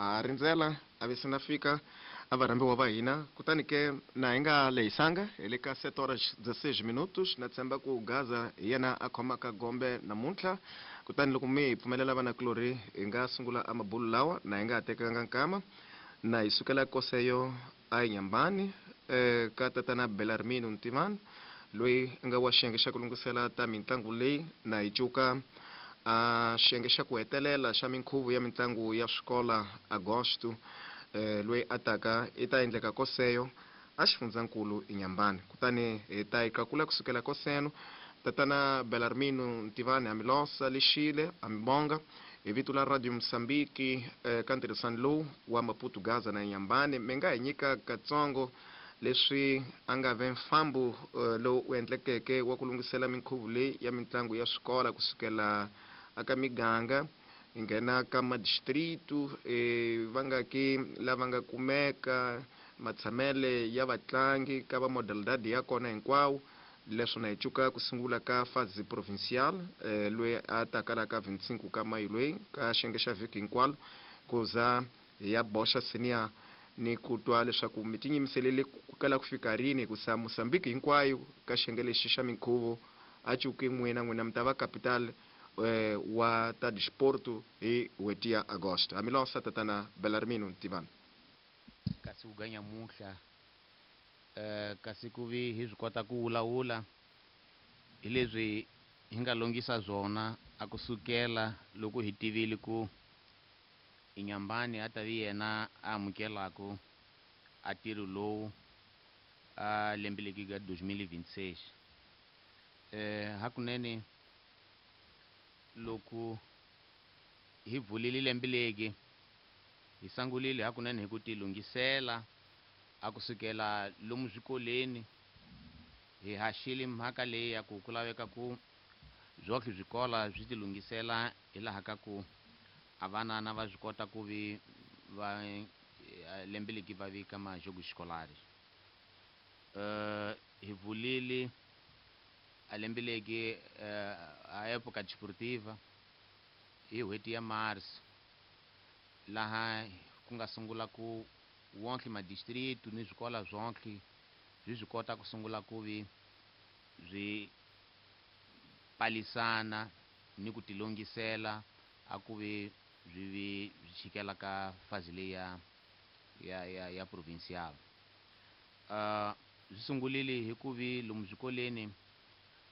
Ha rindzela a ve se na fika a varhambiwa va hina. Kutani ke na hi nga lehisanga, hi le ka 7 horas 16 minutos. Na tshemba ku Gaza hi yena a khomaka gombe namuntlha. Kutani loko mi hi pfumelela vanakulorhi, hi nga sungula a mabulu lawa na hi nga ha tekanga nkama. Na hi sukela koseyo a Inhambane ka tatana Belarmino Ntivani, loyi a nga wa xiyenge xa ku lunghisela ta mintlangu leyi. Na hi cuka a xiyenge xa ku hetelela xa minkhuvo ya mintlangu ya swikola Agosto loyi a taka i ta endleka koseyo a xifundzankulu Inhambane. Kutani hi ta yi qakula kusukela koseno. Tatana Belarmino Ntivani, ha mi losa lexile, ha mi bonga hi vito la Radio Mozambique ka ntirhisano lowu wa Maputo Gaza na Inhambane. Mi nga hi nyika katsongo leswi a nga ve mfambo lowu u endlekeke wa ku lunghisela minkhuvo leyi ya mintlangu ya swikola kusukela aka miganga hi nghena ka madistritu, va nga ki lava nga kumeka matshamele ya vatlangi ka va modalidade ya kona hinkwawo. Leswo na hi cuka ku sungula ka fase provincial loyi a ta kala ka 25 ka mayi loyi ka xiyenge xa vhiki hinkwalo, ku za hi ya boxa senior ni ku twa leswaku mi tinyimiselele ku kala ku fika rini, hikusa Mozambique hinkwayo ka xiyenge lexi xa minkhuvo a cuki n'wina, n'wina mi ta va capital wa ta disporto hi n'hweti ya Agosto. Hamilosa tatana Belarmino Ntivani. Kasi ku ganya muhla, kasi ku vi hi swi kota ku vulavula hi leswi hi nga longisa swona a kusukela loko hi tivile ku Inhambane a ta vi yena a amukelaku a ntirho lowu a lembe leki ka 2026. Hakunene loko hi vulile lembe leki, hi sangulile hakunene hi ku tilunghisela a kusukela lomu swikoleni. Hi haxile mhaka leyi ya ku ku laveka ku swohle swikola swi tilunghisela hi laha ka ku a vanana va swi kota ku vi va lembe leki va vika majogo xikolari. Hi vulile a lembe leki a época desportiva hi n'hweti ya Mars, laha ku nga sungula ku wonke madistritu ni swikola swonke swi swi kota ku sungula ku vi swi palisana ni ku tilunghisela a ku vi swi vi swi chikela ka fazi leyi ya provincial. Swi sungulile hi ku vi lomu swikoleni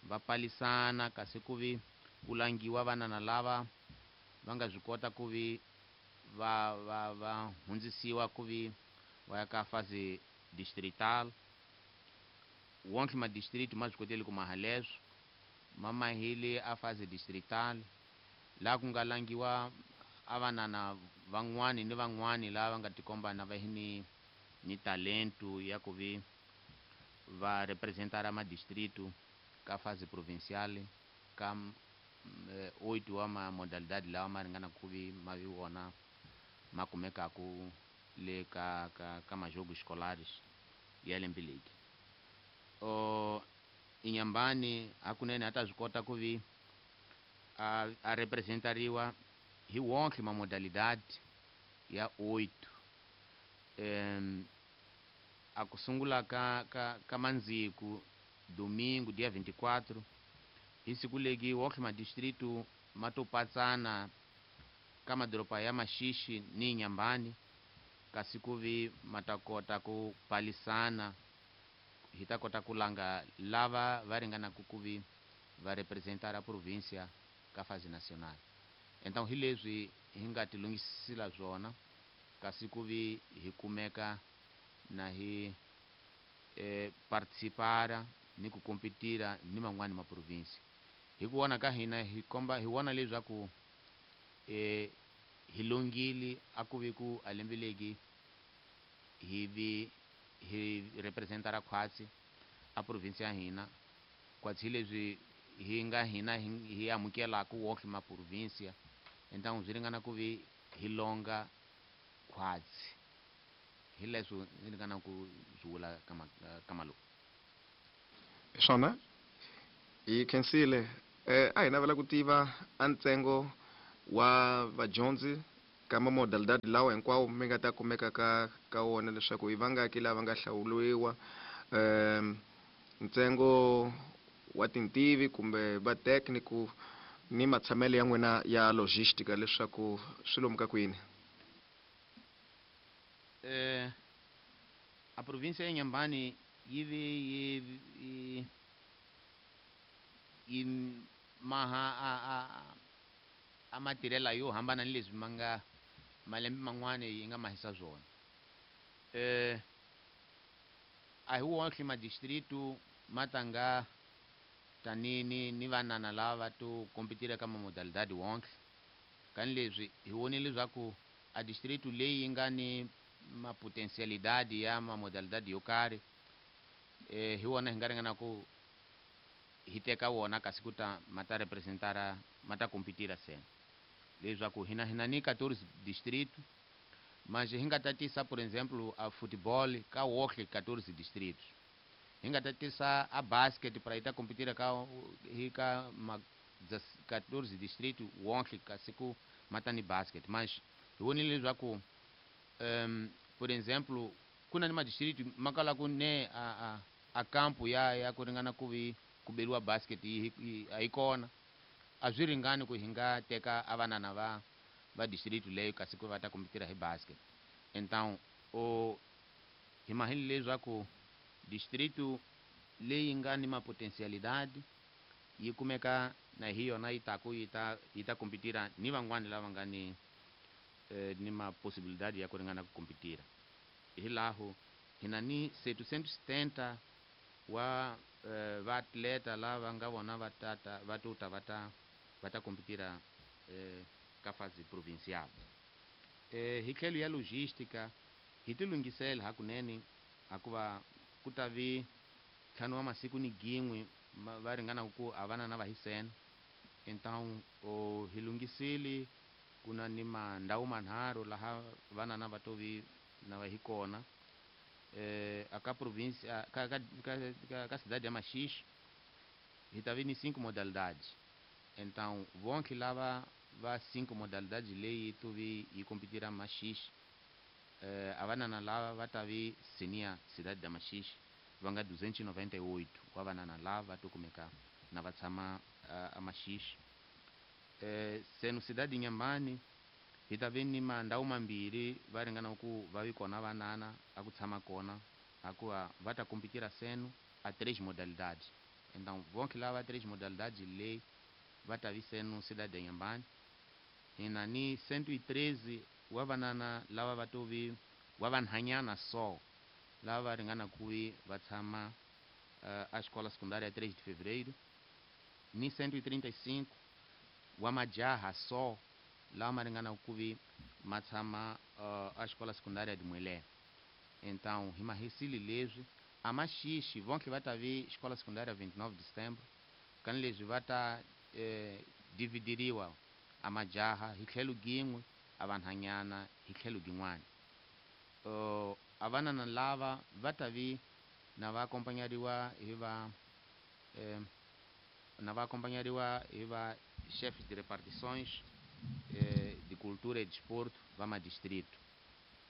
va palisana, kasi ku vi ku langiwa vanana lava va nga swi kota ku vi va hundzisiwa ku vi va ya ka fase distrital. Wonke madistrict ma swi kotile ku maha leswo, ma mahile a fase distrital, laha ku nga langiwa a vanana van'wani ni van'wani lava nga tikomba na va hi ni talento ya ku vi va representara madistrict ka fase provincial ka 8 wa ma modalidade lawa ma ringana ku vi ma vi wona ma kumekaku le ka majogo escolares ya lembe leki. Inhambane hakunene a ta swi kota ku vi a representariwa hi wonke ma modalidade ya 8. A ku sungula ka mandziku domingo dia 24 hi siku leki wonke madistritu ma to patsana ka madoroba ya Maxixi ni Inhambane, kasi ku vi ma ta kota ku palisana, hi ta kota ku langa lava va ringanaka ku vi va representara provincia ka fase nacional. Então hi leswi hi nga tilunghisela swona, kasi ku vi hi kumeka na hi participara ni ku competira ni man'wani ma province. Hi ku vona ka hina hi komba hi vona leswaku hi longile a ku vi ku a lembe leki hi vi hi representara khwatsi a province ya hina, khwatsi hi leswi hi nga hina hi amukelaka wonke ma provincia. Então swi ringana ku vi hi longa khwatsi, hi leswo ni ringana ku swi vula ka malume. Swona hi khensile. A hi navela ku tiva a ntsengo wa vadyondzi ka mamodalidadi lawa hinkwawo mi nga ta kumeka ka ka wona leswaku i vangaki lava nga hlawuriwa, ntsengo wa tintivi kumbe va técnico ni matshamelo ya n'wina ya logistica leswaku swi lomu ka kwini? A província ya Inhambane yi ve yi yi maha a matirhela yo hambana ni leswi ma nga malembe man'wana yi nga mahisa swona. A hi wonke madistritu ma tanga tani ni vanana lava to kompetira ka mamodalidadi wonke. Kani leswi hi vonile leswaku a distritu leyi yi nga ni mapotensialidadi ya mamodalidadi yo karhi, hi wona hi nga ringana ku hi teka wona kasi ku ta ma ta representara ma ta kompetira sena. Leswaku hina ni 14 distrito, mas hi nga tatisa por exemplo a futebol ka wonke 14 distritos. Hi nga tatisa a basket para yi ta kompetira ka hi ka ma 14 distrito wonke kasi ku ma ta ni basket. Mas hi vonile leswaku, por exemplo ku na ni madistrito ma kala ku ne a campo ya ku ringana ku vi ku beriwa basket yi a yi kona. A swi ringani ku hi nga teka a vanana va distrito leyo kasi ku va ta kompetira hi basket. Então o hi mahile leswaku distrito leyi nga ni mapotensialidadi yi kumeka na hi yona yi taku yi ta kompetira ni van'wani lava nga ni maposibilidadi ya ku ringana ku kompetira. Hi laho hi na ni 770 wa vaatleta lava nga vona va tata va tuta va ta kompetira ka fase provincial. Hi tlhelo ya logistica hi ti lunghisela hakunene, hikuva ku ta vi ntlhanu wa masiku ni gin'we va ringana ku a vana na va hi sena. Então o hi lunghisile ku na ni mandhawu manharhu laha vanana va to vi na va hi kona. A ka província, ka cidade ya Maxixe hi ta vi ni 5 modalidades. Então vonke lava va 5 modalidades leyi to vi yi kompetira Maxixe, a vanana lava va ta vi senior cidade da Maxixe va nga 298 wa vanana lava va to kumeka na va tshama a Maxixe. Seno cidade Inhambane hi ta vi ni mandhawu mambirhi va ringana ku va vi kona vanana a ku tshama kona, hikuva va ta kompetira seno a 3 modalidades. Então vonke lava 3 modalidades leyi va ta vi seno cidade Inhambane. Hi na ni 113 wa vanana lava va to vi wa vanhanyana so lava va ringana ku vi va tshama a escola secundária 3 de fevereiro, ni 135 wa majaha so lava ma ringana ku vi ma tshama a escola secundária de Muelé. Então hi mahisile leswi a Maxixe vonke va ta vi escola secundária 29 de setembro, kani leswi va ta dividiriwa a majaha hi tlhelo gin'we, a vanhanyana hi tlhelo gin'wana. A vanana lava va ta vi na va akompanyariwa hi va na va akompanyariwa hi va chefes de repartições de cultura e desporto va madistrito.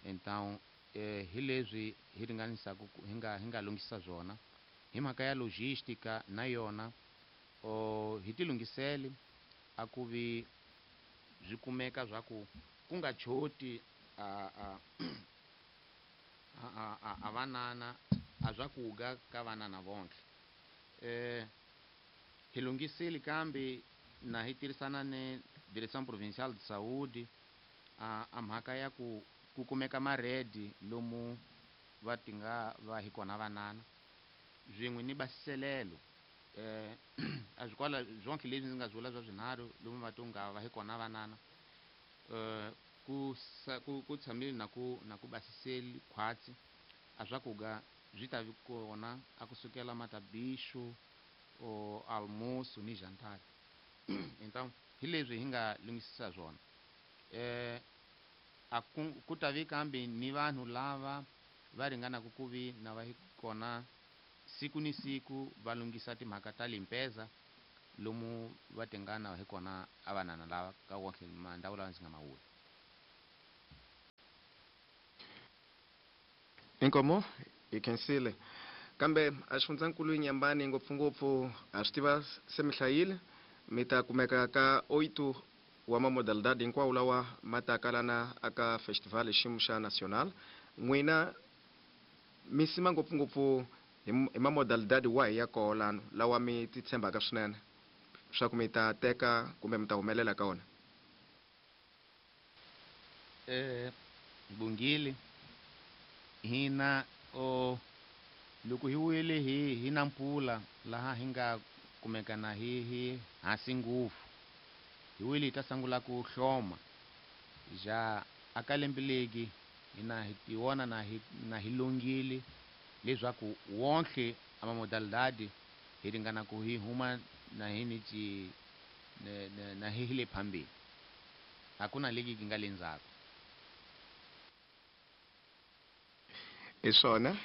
Então hi leswi hi ringanisaka hi nga lunghisa swona hi mhaka ya logistica na yona. O hi ti lunghisele a ku vi swi kumeka swa ku ku nga choti a vanana a swakudya ka vanana vonke. Hi lunghisile kambe na hi tirhisana ni Direção Provincial de Saúde a mhaka ya ku ku kumeka maredi lomu va ti nga va hi kona vanana swin'we ni basiselelo. A swi kwala swonke leswi ndzi nga swi vula swa swinharhu lomu va to nga va hi kona vanana, ku tshamile na ku basiseli khwatsi a swakudya swi ta vi kona a kusukela matabixo o almoço ni jantar. Então hi leswi hi nga lunghisisa swona. A ku ta vi kambe ni vanhu lava va ringanaka ku vi na va hi kona siku ni siku va lunghisa timhaka ta limpeza lomu va tingana hi kona a vanana lava ka wonke mandhawu lawa ndzi nga ma vula. Inkomo hi khensile kambe a xifundzankulu Nyambani ngopfungopfu ha swi tiva se mi hlayile mi ta kumeka ka oito wa mamodalidade hinkwawo lawa ma taka lana aka festival xiyimo xa national. N'wina mi sima ngopfungopfu hi mamodalidade wahi ya koho lano lawa mi ti tshembaka swinene swa ku mi ta teka kumbe mi ta humelela ka wona? Bungile hina o loko hi wile hi na mpfula laha hi nga kumeka na hi hansi ngopfu hi wile hi ta sungula ku hloma ja aka lembe legi hina hi tiwona na hi longile leswaku wonke ama modalidade hi ringana ku hi huma na hi ni ci na hi le phambili, hakuna legi ki nga le ndzhaku. Hi swona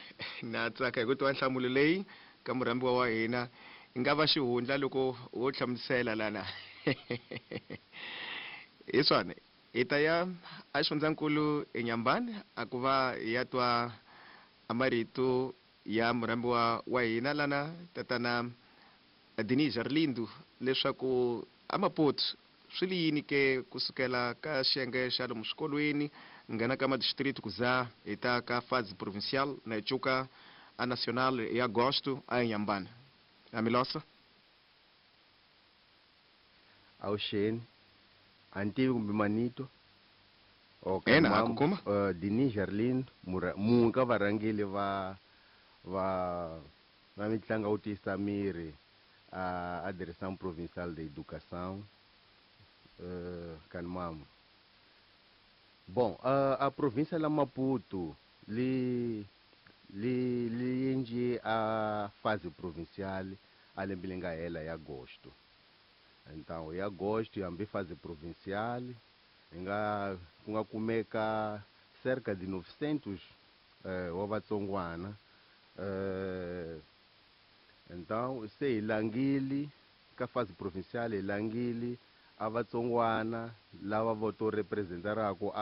na tsaka hi ku twa nhlamulo leyi ka murhambiwa wa hina yi nga va xihundla loko wo hlamusela lana. Hi swona hi ta ya a xifundzankulu eNyambani a ku va hi ya twa a marito ya murhambiwa wa hina lana tatana Denise Arlindo leswaku a Maputo swi li yini ke kusukela ka xiyenge xa lomu swikolweni nghena ka madistrict ku za hi ta ka fase provincial na hi cuka a national hi agosto a eNyambani. Amilosa Awuxeni a ni tivi kumbe manito. Okay, Ena, a ku kuma. Denise Arlindo munhu ka varhangeli va mitlangu wo tiyisa miri a Direção Provincial de Educação Kanmamo. Bom, a província la Maputo li endle a fase provincial a lembe leri nga hela ya agosto. Então ya agosto hambi fase provincial hi nga ku nga kumeka cerca de 900 wa vatsongwana. Então se hi langile ka fase provincial hi langile a vatsongwana lava vo to representaraka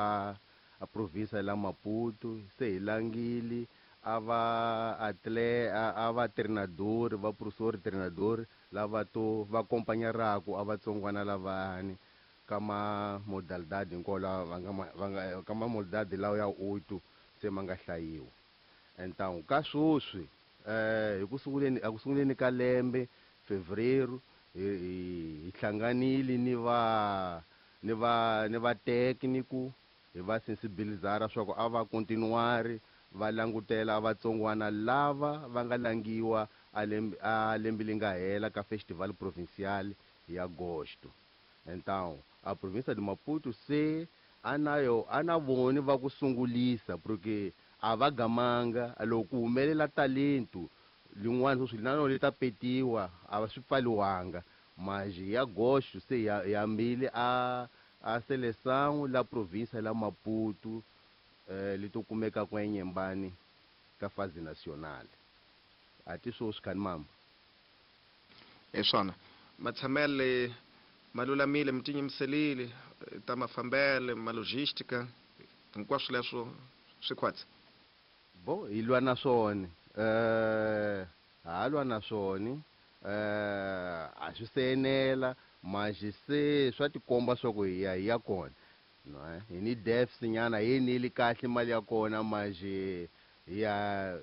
a província la Maputo, se hi langile a va atle a va treinador va professor treinador lava to va acompanharaka a vatsongwana lavani ka ma modalidade hinkwawo lawa va nga va nga ka ma modalidade lawa ya oito se ma nga hlayiwa. Então ka sweswi hi ku sunguleni a ku sunguleni ka lembe fevereiro hi hlanganile ni va ni va ni va técnico hi va sensibilizara swa ku a va continuare va langutela vatsongwana lava va nga langiwa a lembe leri nga hela ka festival provincial ya agosto. Então a província de Maputo se anayo ana voni va ku sungulisa porque a va gamanga loko ku humelela talento lin'wana sweswi na rona li ta petiwa a va swi pfaliwanga mas ya agosto se ya hambile a seleção la província la Maputo li to kumeka kwa eNyembani ka fase national. A ti swoswi khani mama. Hi swona matshamele ma lulamile mi tinyimiselile ta mafambele ma logistica hinkwaswo leswo swi khwatsi. Bo hi lwa na swona ha lwa na swona a swi se enela mas se swa tikomba swa ku hi ya hi ya kona. No, hi ni deficit nyana hi nili kahle mali ya kona mas hi ya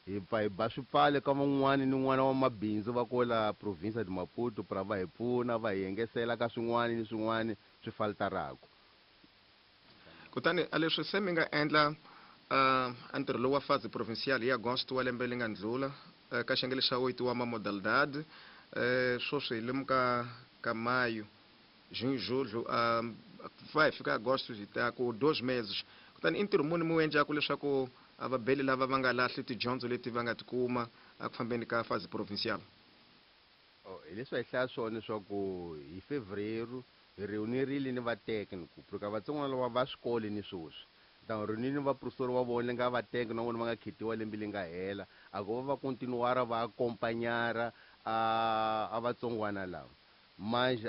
hi pfa hi ba swipfale ka van'wani ni n'wana wa mabindzu va kola província de Maputo pra va hi pfuna va hi engesela ka swin'wani ni swin'wani swi faltaraka. Kutani a leswi se mi nga endla a ntirho lowu wa fase provincial hi agosto wa lembe leri nga ndlula ka xiyenge lexa oito wa mamodalidade sweswi hi lemuka ka mayo junho julho va hi fika agosto hi ta ku 2 meses. Kutani i ntirho muni mi wu endlaku leswaku a vabeli lava va nga lahli tidyondzo leti va nga tikuma eku fambeni ka fase provincial? Hi leswi a hi hlaya swona leswaku hi fevereiro hi reunirile ni va técnico porque vatsongwana lava va swikolo ni sweswi. Então reunile ni vaprofessor wa vona nga va técnico na vona va nga khetiwa lembe leri nga hela a ku va va continuara va acompanhara a vatsongwana lava. Mas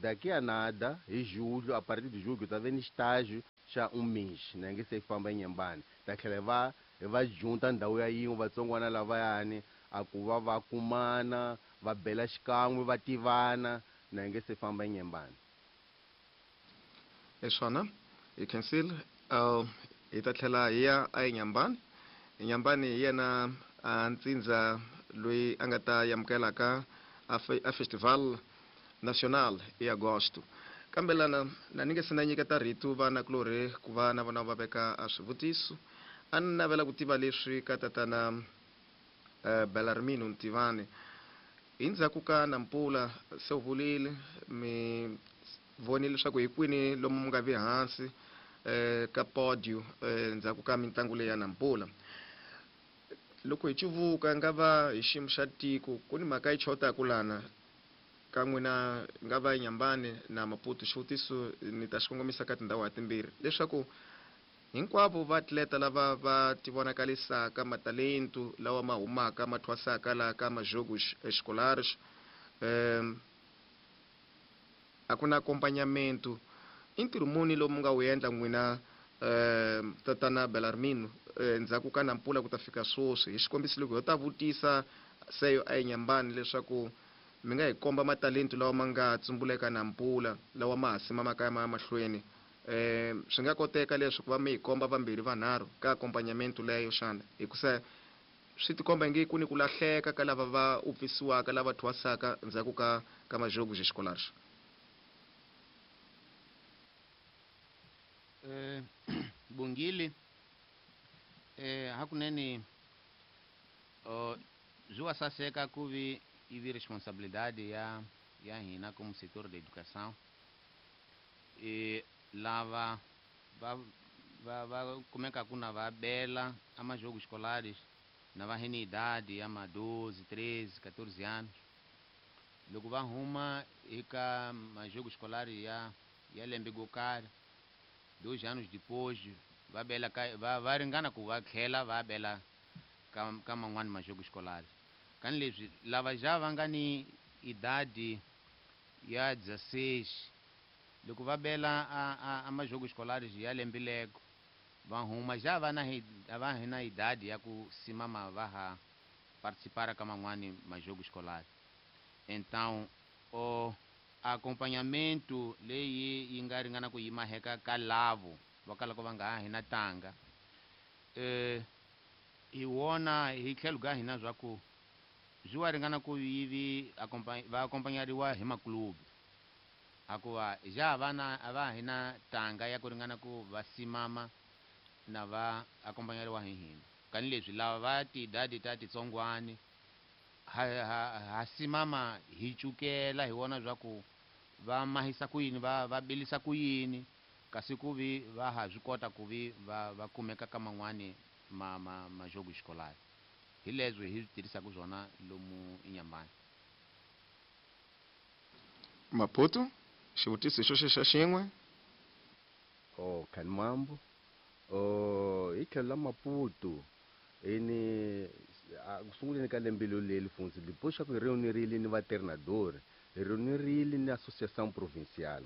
daqui a nada, em julho, a partir de julho, tá vendo estágio xa um mês, né? Que se famba eNyembane. Ta tlhela va hi va junta ndhawu ya yin'we vatsongwana lavayani a ku va va kumana va bela xikan'we va tivana na hi nge se famba eNyembane. Hi swona hi khensile hi ta tlhela hi ya eNyambani. Nyambani hi yena a ntsindza loyi a nga ta amukelaka a festival national hi agosto. Kambe lana na ni nge se na nyiketa rito vanakulorhi ku va na vona va veka a swivutiso. A ni navela ku tiva leswi ka tatana Bellarmino Ntivani. Hi ndzhaku ka Nampula se u vulile mi vonile leswaku hi kwini lomu mi nga vi hansi ka podio ndzhaku ka mitlangu leyi ya Nampula. Loko hi cuvuka nga va hi xiyimo xa tiko ku ni mhaka yi chotaku lana ka n'wina nga va Nyambani na Maputo. Xivutiso ni ta xi kongomisa ka tindhawu ha timbirhi leswaku hinkwavo vaatleta lava va tivonakalisaka matalentu lawa ma humaka ma thwasaka laha ka majogos escolares a ku na accompagnamento. I ntirho muni lowu mi nga wu endla n'wina tatana Bellarmino ndzhaku ka Nampula ku ta fika sweswi? Hi xikombiso loko ho ta vutisa seyo a eNyambani leswaku mi nga hi komba matalentu lawa ma nga tsumbuleka Nampula lawa ma ha simamaka ya ma ya mahlweni, swi nga koteka leswi ku va mi hi komba vambirhi vanharhu ka accompagnamento leyo xana? Hikusa swi tikomba ingi ku ni ku lahleka ka lava va upfisiwaka lava thwasaka ndzhaku ka majogos escolares. Bongile, hakunene byi wa saseka ku vi ivi responsabilidade ya hina como setor de educação lava va kumekaku na va bela a majogos escolares na va hini idade ya ma 12, 13, 14 anos. Loko va huma eka majogos escolares ya lembe go karhi, 2 anos depois va bela ka va ringana ku va tlhela va bela ka man'wani majogos escolares. Kani leswi lava ja va nga ni idade ya 16 loko va bela a majogos escolares ya lembe lego va huma ja va na va na idade ya ku simama va ha participar ka man'wani majogos escolares. Então o acompanhamento leyi yi nga ringana ku yima heka ka lavo va kalaka va nga ha hina tanga hi wona hi tlhelo ka hina swa ku byi wa ringana ku yivi va accompagnariwa hi maklubi hikuva ja vana a va hina tanga ya ku ringana ku va simama na va accompagnariwa hi hina. Kani leswi lava va tidadi ta titsongwani ha simama hi cukela hi wona swa ku va mahisa ku yini va bilisa ku yini kasi ku vi va ha swi kota ku vi va kumeka ka man'wani majogo escolar. Hi leswi hi swi tirhisaka swona lomu eNyambani. Maputo, xivutiso xo xa xin'we. Oh, Khanimambo. Hi tlhelo la Maputo ini ku sunguleni ka lembe leri mfundzi depois xa ku hi reunirile ni va treinador, hi reunirile ni associação provincial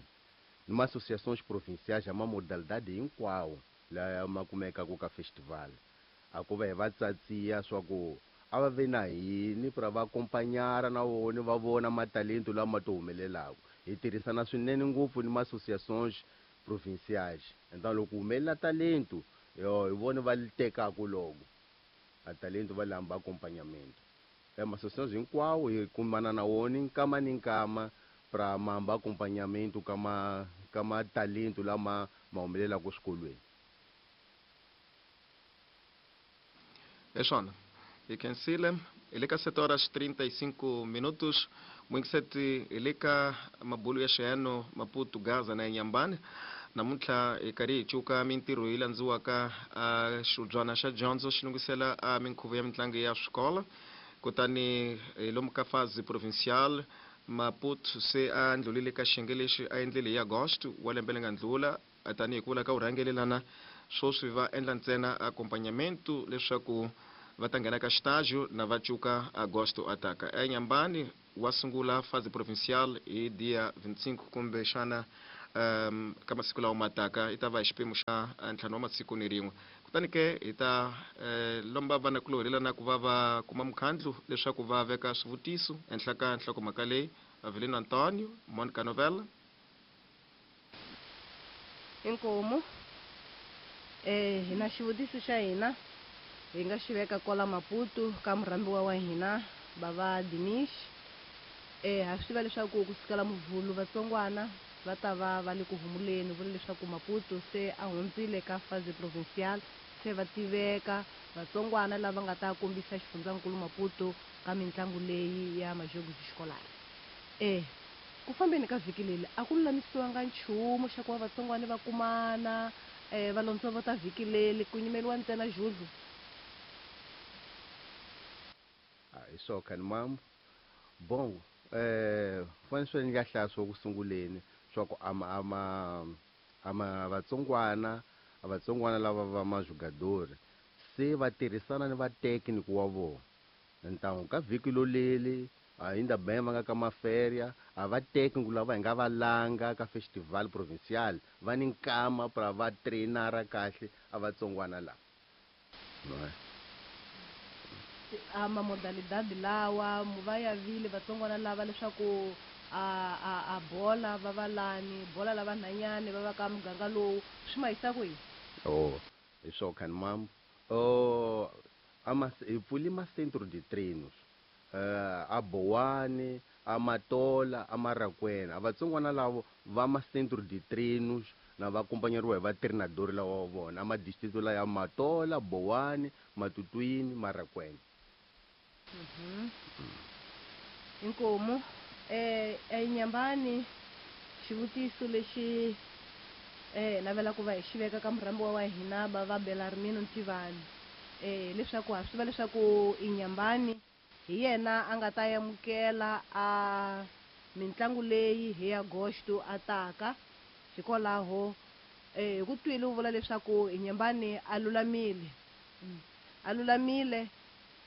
ni ma associações provinciais ya ma modalidade hinkwawo laya ma kumekaka ka festival. A ku va hi va tsatsiya swa ku a va ve na hini pra va accompagnara na vona va vona matalento lama to humelelaka. Hi tirhisana swinene ngopfu ni ma associações provinciais. Então loko humelela talento yo hi vona va li tekaka loko a talento va lamba accompagnamento. Ma associações hinkwawo hi kumana na wona nkama ni nkama pra mamba accompagnamento ka ma talento lama ma humelelaka swikolweni. Hi swona hi khensile. Hi le ka 7 horas 35 minutos. Mwingiseti hi le ka mabulu ya xiheno Maputo, Gaza na Nyambani. Namuntlha hi karhi hi cuka mintirho yi landziwaka a xibyana xa dyondzo xi lunghisela a minkhuvo ya mitlangu ya swikolo. Kutani hi lomu ka fazi provincial Maputo se a ndlulile ka xiyenge lexi a endlile hi Agosto wa lembe leri nga ndlula, tanihi ku vula ka vurhangelelana sweswi va endla ntsena accompagnamento leswaku va ta nghena ka xitajo na va cuka Agosto ataka. ENyambani Wa sungula fase provincial hi dia 25 kumbe xana ka masiku lawa ma taka, yi ta va hi xiphemu xa 5 wa masiku ni rin'we. Kutani ke hi ta lomba vanakulorhi lana ku va va kuma mukhandlu leswaku va veka swivutiso ehenhla ka nhlokomhaka leyi. Avelino Antonio, Monica Novella. Inkomu. Hina xivutiso xa hina hi nga xi veka kwala Maputo ka murhambiwa wa hina bava Dinish. Ha swi tiva leswaku ku sukela Muvhulu vatsongwana va ta va va le ku humuleni, vula leswaku Maputo se a hundzile ka fase provincial, se va tiveka vatsongwana lava nga ta kombisa xifundzankulu Maputo ka mitlangu leyi ya Majogos Escolares. Ku fambeni ka vhiki leri a ku lulamisiwanga nchumu xa ku va vatsongwana va kumana, va londzovota vhiki leri, ku nyimeriwa ntsena Judlu. Hi swo khani mam. Bon, fanele swi nga hlaya swo ku sunguleni swa ku ama vatsongwana, a vatsongwana lava va majugadori se va tirhisana ni va tekniki wa vona. Ntangu ka vhiki loleli ainda bem va nga ka maferia, a va tekniki lava hi nga va langa ka festival provincial va ni nkama pra va trainara kahle a vatsongwana lava. A ma modalidade lawa va ya vile vatsongwana lava leswaku a bola va va lani, bola lava nhanyani va va ka muganga lowu, swi ma yisa kwihi? Oh, hi swo khani mam. Oh, ama hi pfuli ma centro de treinos. A Bowane, a Matola, a Marakwena. A vatsongwana lavo va ma centro de treinos na va acompanhariwa hi va treinador lawa wa vona. A ma distrito la ya Matola, Bowane, Matutuini, Marakwena. Inkomu. Nyambani, xivutiso lexi navela ku va hi xi veka ka murhambiwa wa hina ba va Belarmino Ntivani. Leswaku ha swi tiva leswaku Inyambani hi yena a nga ta amukela a mitlangu leyi hi Agosto a taka. Hikwalaho hi ku twile u vula leswaku Inyambani a lulamile. A lulamile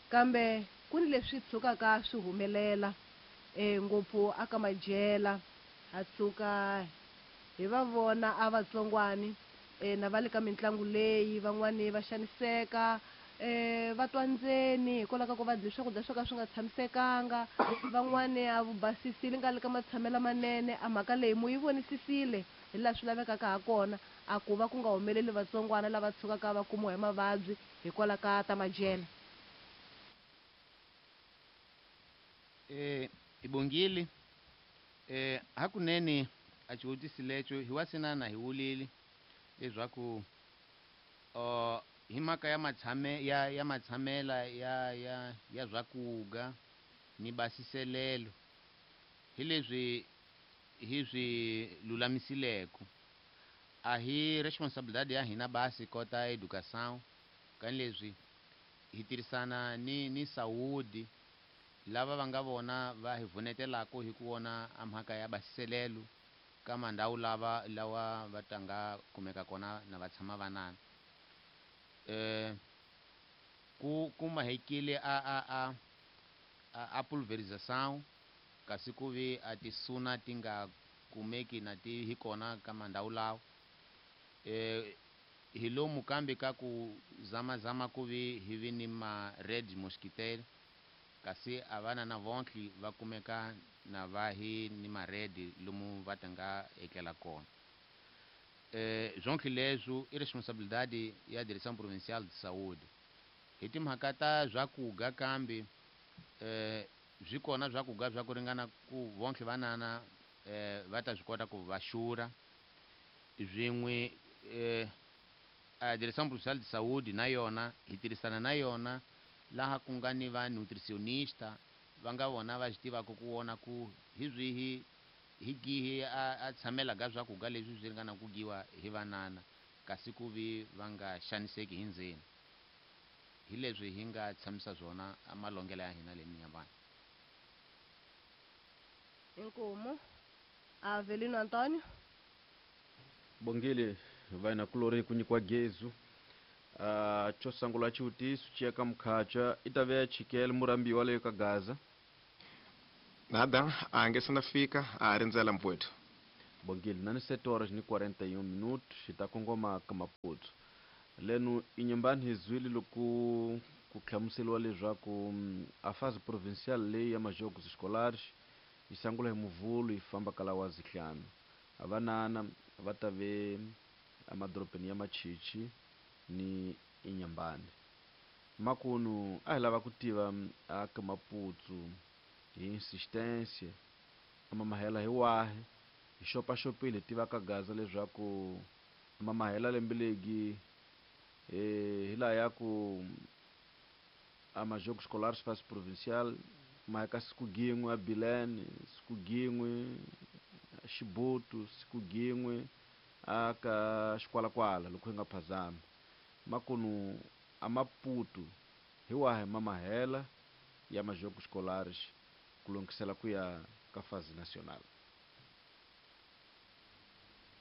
kambe ku ni leswi tshukaka swi humelela ngopfu aka madyela, ha tshuka hi va vona a vatsongwani na va le ka mitlangu leyi van'wani va xaniseka, va twa ndzeni hikwalaho ka ku va dye swakudya swo ka swi nga tshamisekanga, van'wani a vu basisile nga le ka matshamelo lamanene. A mhaka leyi mu yi vonisisile hi laha swi lavekaka ha kona, a ku va ku nga humeleli vatsongwana lava tshukaka va kumiwa hi mavabyi hikwalaho ka ta madyelo. Ibongile. Hakunene a xivutiso lexo hi wa sinana hi wulile leswaku hi mhaka ya matshame, ya, ya matshamela ya, ya, ya swakuga ni basiselelo hi leswi hi swi lulamisileko. A hi responsabilidade ya hina basi kota educação, ka leswi hi tirhisana ni saúde lava va nga vona va hi vunetelako hi ku vona a mhaka ya basiselelo ka mandhawu lava lawa va tanga kumeka kona na va tshama vanana. Ku kumahekile a pulverização, kasi ku vi a tisuna ti nga kumeki na ti hi kona ka mandhawu lawa. Hi lomu kambe ka ku zamazama ku vi hi vi ni ma red mosquitaire, kasi a vana na vontlhi va kumeka na va hi ni ma red lomu va tanga etlela kona. Zonke leswo i responsabilidade ya Direção Provincial de Saúde. Hi timhaka ta swakuga kambe, swi kona swakuga swa ku ringana ku vontlhe vanana, va ta swi kota ku va xurha. Swin'we, a Direção Provincial de Saúde na yona hi tirhisana na yona laha ku nga ni va nutritionista va nga vona va swi tivaka ku vona ku hi swihi hi gihi a tshamela ka swakuga leswi swi ringana ku dyiwa hi vanana, kasi ku vi va nga xaniseki hi ndzeni. Hi leswi hi nga tshamisa swona a malongelo ya hina le Minyambani. Inkomu. Avelino Antonio. Bongile vaina kulori ku nyikiwa gezu. Xo sungula xivutiso xi ya ka Mukhacha i ta ve chikele murambiwa leyo ka Gaza. Nada, a nge se na fika, a rindzela mpfwetu. Bongile, na ni 7 horas ni 41 minutos, hi ta kongoma ka Maputo. Leno Inhambane hi zwile loko ku hlamuseriwa leswaku a fase provincial leyi ya majogos escolares yi sungula hi Muvhulu yi famba kala wa zihlanu. Avanana va ta ve emadorobeni ya Machichi ni Inhambane. Makunu a hi lava ku tiva a ka Maputo hi insistência amamahela hi wahi hi xopaxopile hi tiva ka Gaza leswaku amamahela lembe legi hi laha ya ku a majogos escolares fase provincial ma ka siku gin'we a Bilene, siku gin'we Xibutu, siku gin'we a ka Xikwalakwala loko hi nga phazami. Makunu a Maputo hi wahi mamahela ya majogos escolares ku lungisela ku ya ka fase nacional?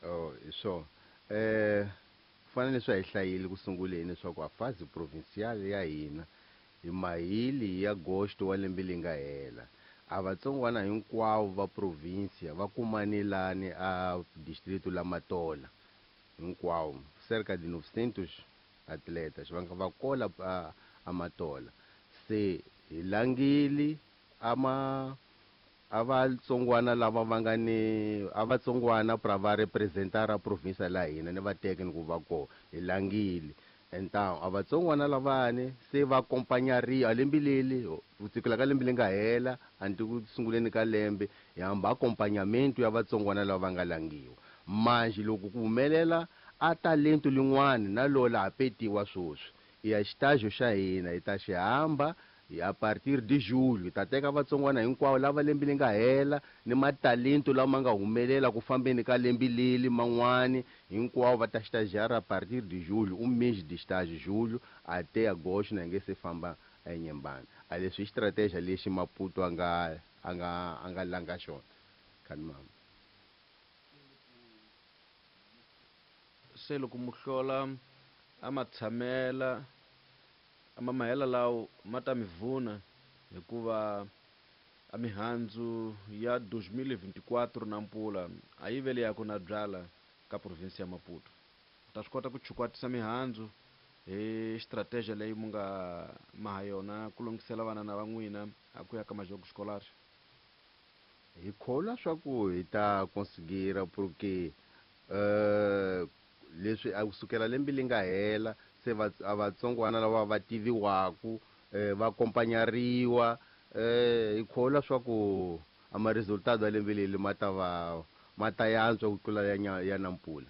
Oh, hi swona. Fanele swi hi hlayile ku sunguleni leswaku a fase provincial ya hina hi mahili ya agosto wa lembe leri nga hela. A vatsongwana hinkwavo va provincia va kumanelani a distrito la Matola hinkwavo, cerca de 900 atletas va nga va kola a Matola. Se hi langile ama a vatsongwana lava va nga ni a vatsongwana pra va representar a provincia la hina ni va teke ni ku va kona hi langile. Então a vatsongwana lavani se va acompanhariwa lembe leli ku sukela ka lembe leri nga hela anti ku sunguleni ka lembe hi hamba acompanhamento ya vatsongwana lava va nga langiwa. Manje loko ku humelela a talento lin'wana na lola ha petiwa swoswi i ya xitajo xa hina hi ta xi hamba hi a partir de julho hi ta teka vatsongwana hinkwavo lava lembe leri nga hela ni matalento lama nga humelela ku fambeni ka lembe leli man'wani hinkwavo va ta estagiar a partir de julho, um mês de estágio, julho até agosto, na nge se famba eNyembane. A leswi i stratégia lexi Maputo a nga langa xona. Khanimama. Se loko muhlola a matshamela a mamahela lawo ma ta mi vuna hikuva a mihandzu ya 2024 na mpfula a yi vele ya ku na byala ka province ya Maputo. U ta swi kota ku chukwatisa mihandzu hi strategy leyi mu nga maha yona ku lunghisela vana na va n'wina a ku ya ka majogos escolares. Hi kholwa swa ku hi ta conseguir porque leswi a kusukela lembe leri nga hela se a vatsongwana lava va tiviwaku va acompanhariwa hi kholwa swa ku a ma resultado ya lembe leri ma ta va ma ta yantswa ku tlula ya nampula.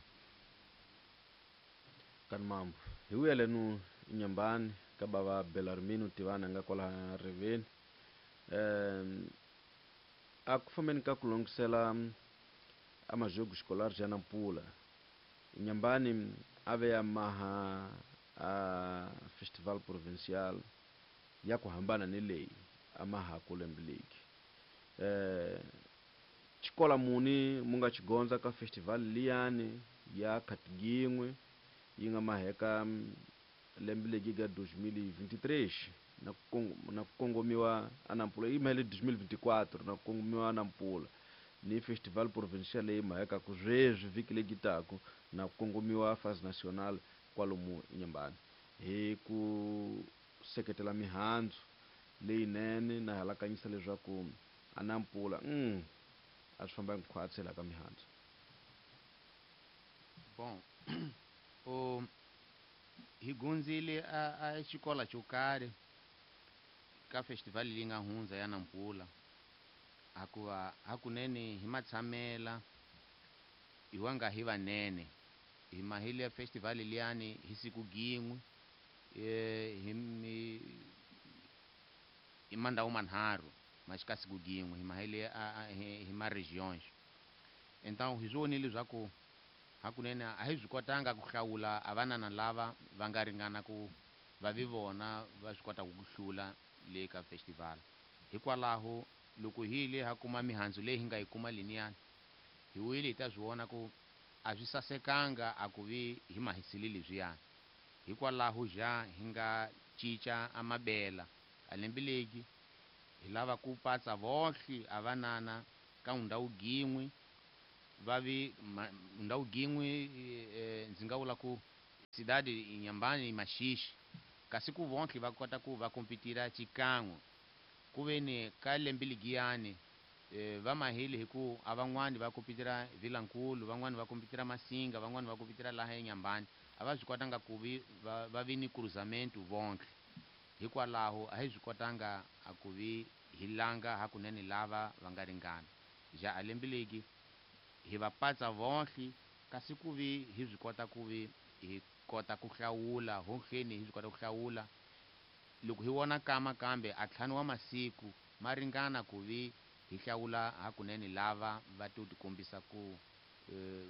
Kanimambo hi vuyelenu Inhambane ka bava Belarmino Tivana nga kwala riveni. A ku fambeni ka ku lunghisela a majogos escolares ya nampula Inhambane a ve ya maha a festival provincial ya ku hambana ni leyi a mahaku lembe leki. Xikola muni mu nga xigondza ka festival liyani ya Khatigingwe yi nga maheka lembe legi ga 2023 na ku kongomiwa a Nampula yi mahele 2024 na ku kongomiwa a Nampula ni festival provincial leyi mahekaku sweswi vhiki legi taku na ku kongomiwa fase nacional kwalomu Inhambane hi ku seketela mihandzu leyinene na halakanyisa leswaku a Nampula a swi famba hinkwatsi laha ka mihandzu. Bom, o hi gundzile a xikola xo karhi ka festival leyi nga hundza ya Nampula hakuva hakunene hi matshamela hi wa nga hi vanene hi mahile ya festival liyani hi siku gin'we hi mandhawu manharhu ma xika siku gin'we hi mahile hi ma regions. Então hi swi vonile leswaku hakunene a hi swi kotanga ku hlawula a vanana lava va nga ringana ku va vi vona va swi kotaka ku hlula le ka festival. Hikwalaho loko hi yile ha kuma mihandzu leyi hi nga yi kuma liniyani hi wile hi ta swi vona ku a swi sasekanga a ku vi hi mahisile leswiyani. Hikwalaho ja hi nga cinca a mabela a lembe legi Hi lava ku patsa vohle a vanana ka ndhawu gin'we va vi ndhawu gin'we, ndzi nga vula ku cidade Inhambane Maxixi, kasi ku vonhle va kota ku va kompitira xikan'we. Ku ve ni ka lembe ligiyani, va mahile hi ku a van'wani va kompitira Vilankulu, van'wani va kompitira Masinga, van'wani va kompitira laha eNyambani, a va swi kotanga ku vi va vi ni cruzamento vonhle. Hikwalaho a hi swi kotanga a ku vi hi langa hakunene lava va nga ringana. Ja a lembe legi hi va patsa vonhle, kasi ku vi hi swi kota ku vi hi kota ku hlawula honhleni, hi swi kota ku hlawula loko hi vona kama kambe a ntlhanu wa masiku ma ringana ku vi hi hlawula hakunene lava va to tikombisa ku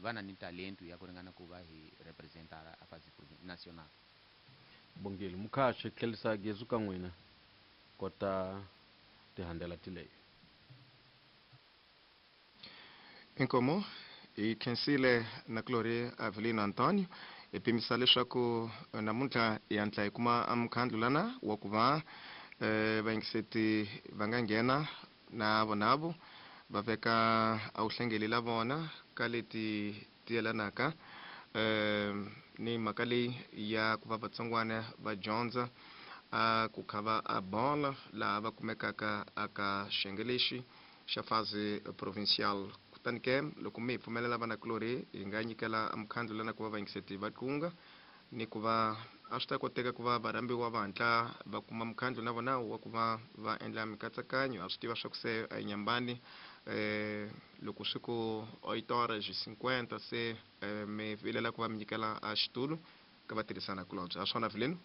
va na ni talento ya ku ringana ku va hi representa a fase national. Bongile mukhaxi tlhelisa gezu ka n'wina kota tihandela tileyo. Inkomo hi khensile na kulori Avelino Antonio, hi pimisa leswaku namuntlha hi hatla hi kuma mukhandlu lana wa ku va vayingiseti va nga nghena na vonavo va veka a wu hlengeli la vona ka leti ti yelanaka ni mhaka leyi ya ku va vatsongwana va dyondza a ku kha va a bola laha va kumekaka aka xiyenge lexi xa fase provincial. Kutani ke loko mi hi pfumelela vanakulorhi hi nga nyikela mukhandlu lana ku va vayingiseti va tlunga ni ku va a swi ta koteka ku va varhambiwa va hatla va kuma mukhandlu na vona wa ku va va endla mikatsakanyo. A swi tiva swa ku se a Inhambane, loko swi ku 8:50 se mi vilela ku va mi nyikela a xitulu ka vatirhisana kulobye. A swona Avelino?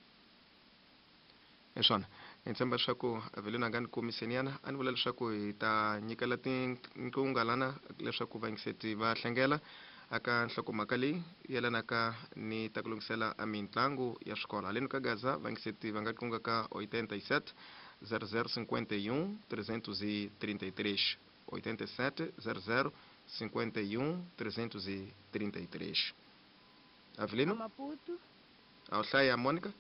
Hi swona, hi tshemba leswaku Avelino a nga ni komiseniana. A ni vula leswaku hi ta nyikela tinqunga lana leswaku vayingiseti va hlengela aka nhlokomhaka leyi yelanaka ni ta ku lunghisela a mitlangu ya swikolo. Haleni ka Gaza vayingiseti va nga qunga ka 87 00 51 333, 87 00 51 333. Avelino? Maputo. A wu hlaya Monica?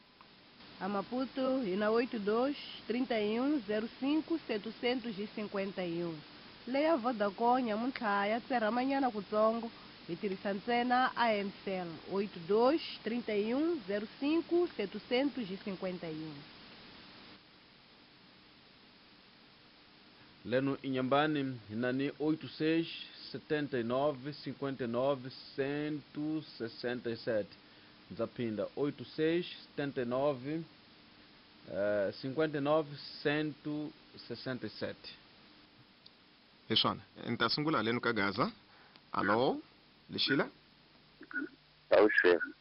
A Maputo hi na 82 31 05 751. Leya Vodacom nyamuntlha ya tserhamanyana kutsongo, hi tirhisa ntsena AMCell 82 31 05 751. Leno Inhambane hi na ni 86 79 59 167. Ndza phinda 86 79 59 167. Hi swona, ni ta sungula haleni ka Gaza. Alo, Lexila? Awuxeni.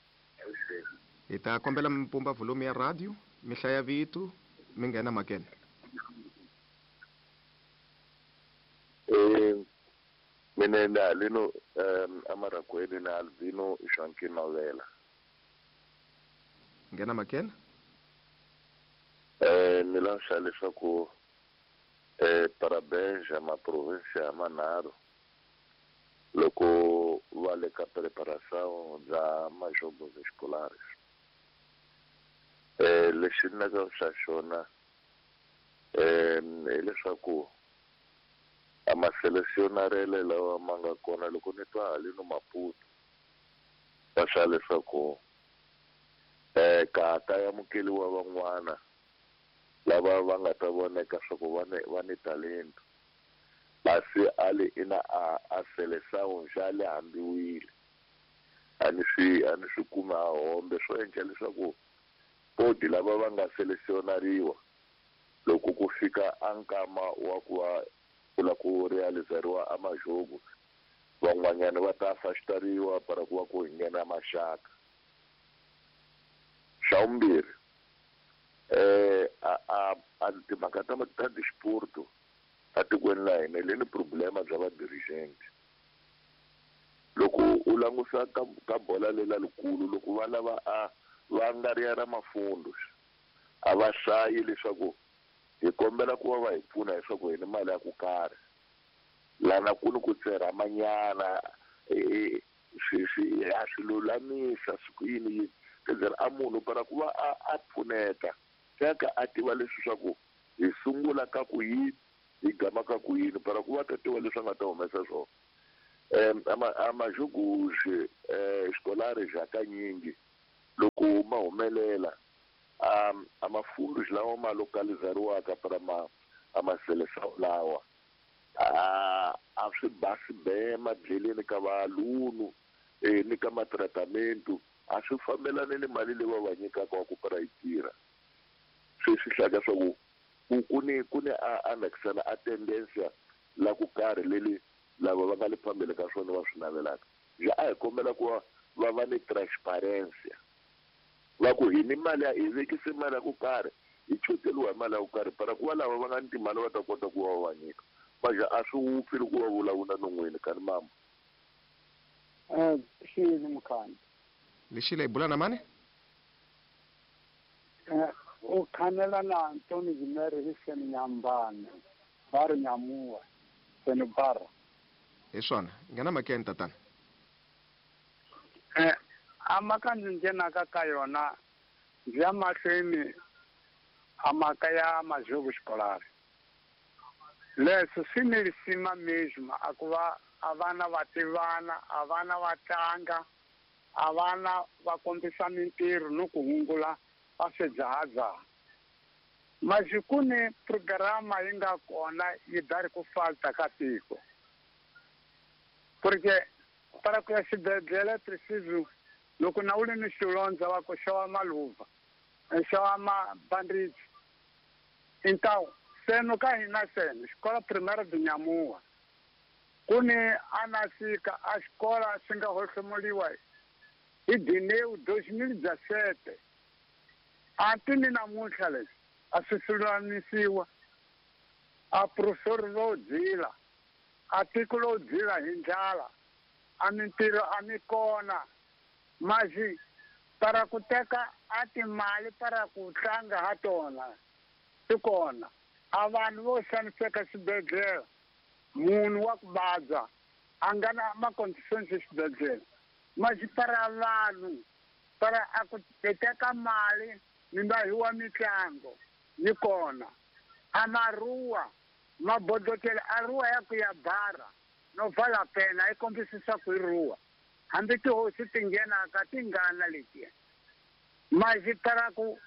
Hi ta kombela mi pumba volume ya radio, mi hlaya vito, mi nghena mhakeni. Mina ni Alino Amaragweni na Albino Joaquim Mavela. Nghena mhakeni. Ni lava leswaku parabéns ma província manharhu loko va le ka preparação bya majogos escolares. Lexi ni nga xa xona hileswaku a ma selecionarele lawa ma nga kona loko ni twa haleno Maputo va swa leswaku ka ta amukeliwa van'wana lava va nga ta voneka swa ku va ni talento, kasi a le ina a seleção xa le hambiwile, a ni swi kumi a hombe. Swo endla leswaku podi lava va nga selecionariwa loko ku fika a nkama wa ku va ku la ku realizariwa a majogo, van'wanyana va ta afastariwa para ku va ku hi nghena maxaka. Xa vumbirhi, a timhaka ta disporto atikweni la hina le ni problema bya va dirigent. Loko u langusa ka bola lela likulu, loko va lava a va nga ri ya ra mafundo, a va hlayi leswaku hi kombela ku va va hi pfuna leswaku hi ni mali ya ku karhi lana ku ni ku tserhamanyana, swi a swi lulamisa swi ku yini yini. Kenzela a munhu para ku va a pfuneta teka a tiva leswi swa ku Hi sungula ka ku yini, hi gama ka ku yini, para ku va ta tiva leswi a nga ta humesa swona. A majogos escolares hakanyingi loko ma humelela a mafundos lawa ma localizariwaka para ma a maseleção lawa a swi basi be madleleni ka valunu ni ka matratamento a swi fambelani ni mali leyi va va nyikaka wa ku para yi tirha. Swi swi hlaka swa ku ku ni a anexana a tendência la ku karhi leli lava va nga le phambili ka swona va swi navelaka. Ja a hi kombela ku va va ni transparência, va ku hi ni mali ya hi vekise mali ya ku karhi, hi choteriwa hi mali ya ku karhi, para ku va lava va nga ni timali va ta kota ku va va nyika. Maja a swi wupfi loko va vulavula non'wini kani mama. Xini mukhandlu? Lexi hi bula na mani? U khanela na Antoni Gimere hi seni Nyambane va ri Nyamuwa seni bara. Hi swona, nghena makeni, tatana. A maka ndzi nghenaka ka yona, ndzi ya mahlweni a mhaka ya majogo escolar. Leswi swi ni risima mesmo a ku va a vana va tivana, a vana va tlanga, a vana va kombisa mintirho ni ku hungula va swidzahadzaha. Mas ku ni programa yi nga kona yi dari ku falta ka tiko, porque para ku ya xibedhlele preciso loko na u ri ni xilondza va ku xava maluva, xava mabandage. Então seno ka hina seno xikola primaire de Nyamuwa ku ni anasika a xikola swi nga hohlomuliwa hi Dineu 2017 anti ni namuntlha leswi a swi lulamisiwa. A professor ro dzila, a tiko ro dzila hi ndlala, a mintirho a mi kona. Mas para ku teka a timali para ku tlanga ha tona swi kona. A vanhu vo xaniseka xibedhlele, munhu wa ku vabya a nga na ma-conditions exibedhlele, mas para vanhu para a ku teka mali mi nga hiwa mitlango yi kona. A maruwa mabodokele a ruwa ya ku ya bara no vala pena yi kombisisa ku i ruwa, hambi tihosi ti nghenaka ti ngana letiya. Mas para ku